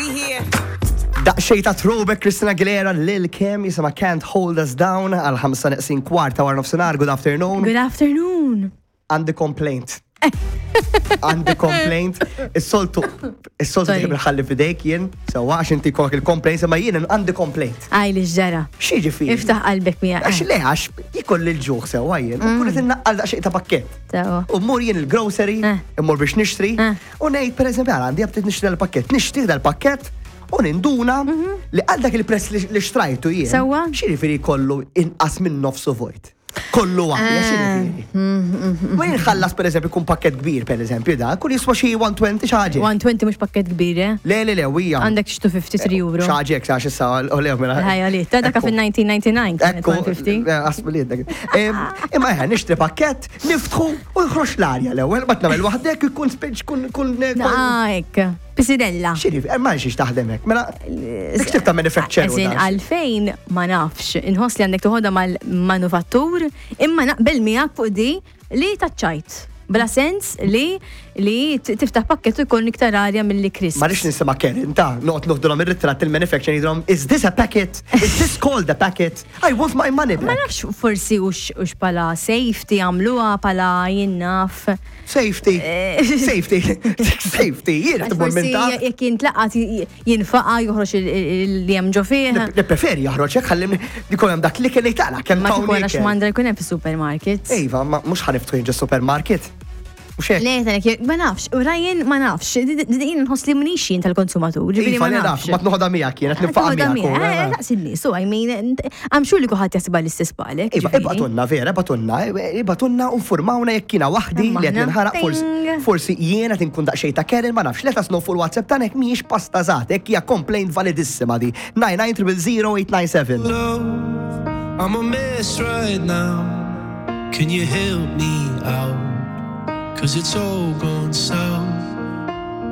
We here. Daqxej ta' throwback Christina Aguilera lil Kim jisima Can't Hold Us Down għal 5 neqsin kwarta wara nofsinhar. Good afternoon. Good afternoon. Għandi complaint. Għandi complaint. Is-soltu, is-soltu Sorry. tħib nħalli fidejk jien, sewa għax inti jkollok il-complaint, imma jien għandi complaint. Għaj li ġara. X'jiġifieri? Iftaħ qalbek miegħek. Għax le, għax jikolli l-ġuħ sewa jien, u kull qed innaqqal daqsxejn ta' pakkett. Sewa. U mmur jien il-grocery, Eh. immur biex nixtri, Eh. u ngħid pereżempju għal għandi għabtit nixtri dal-pakkett, nixtri dal-pakkett u ninduna li għal dak il-prezz li li xtrajtu jien. Mhm. Sewwa. X'jiġifieri kollu inqas minn nofsu vojt. Kollu għalja, Eh. x'jiġifieri. Mhm, Ma jinħallas pereżempju kun pakkett kbir pereżempju da, kun jiswa xi 120 xi ħaġa. 120 mhux pakkett kbir, eh? Le, le, le, wija. Għandek xi 253 euro. Xi ħaġa hekk, għax issa u le, mela. Ħajja li, ta' daka Ekku. fil-1999 kienet Ekku, 150. asmu li jiddek. Imma eħe, nixtri pakket, niftħu u jħrox l-arja l-ewwel, bat nagħmel waħdek ikun spiċ kun kun. Ah, hekk. Pisirella. Xiri, ma nxiex taħdem hekk. Mela, dik tip ta' manufacturer. Eżin, għalfejn ma nafx, inħoss li għandek toħodha mal-manufattur, imma naqbel miegħek fuq di li taċċajt. Bla sens li li t- tiftaħ pakket u jkun iktar arja mill-li crisps. Ma rix nisema Karen, ta' noqgħod noħdulhom ir-ritratt il-manufacturer jidhom, is this a packet? Is this called a packet? I want my money Ma back. nafx forsi ux, ux pala safety għamluha pala jinnaf. Safety. Safety. Safety. Jiena Għax tmur minn Forsi ta' jekk jintlaqat jinfaqa joħroġ li hemm ġo fih. Nippreferi joħroġ hekk ħalli jkun hemm dak li kelli taqla kemm Ma tawni kikun għax ikel. mandra jkun hemm fis-supermarket. Iva, ma mhux ħaniftħu jien ġo supermarket. Mhux hekk. Le, talek, ma nafx, Ryan ma nafx, din nħoss li mnix jien tal-konsumatur, ġifieri Iva, ma le naf, nafx. ma tnoħodha miegħek jien, qed niffaqa Toħodha miegħek. miegħek, eh, Daqs in-nies, u I mean, I'm sure li kulħadd jaħsibha l-istess bħalek. Iva, ġifieri. ibatunna, vera, ibatunna, ibatunna u informawna jekk jiena waħdi li qed Aħna. ninħaraq forsi Ting. forsi jiena qed inkun daqsxejn ta' Karen ma nafx, let us know fuq il-WhatsApp tagħna jekk mhijiex pasta żgħat, hekk hija complaint validissima di. 9900897. Love, I'm a mess right now. Can you help me out? Cause it's all gone south.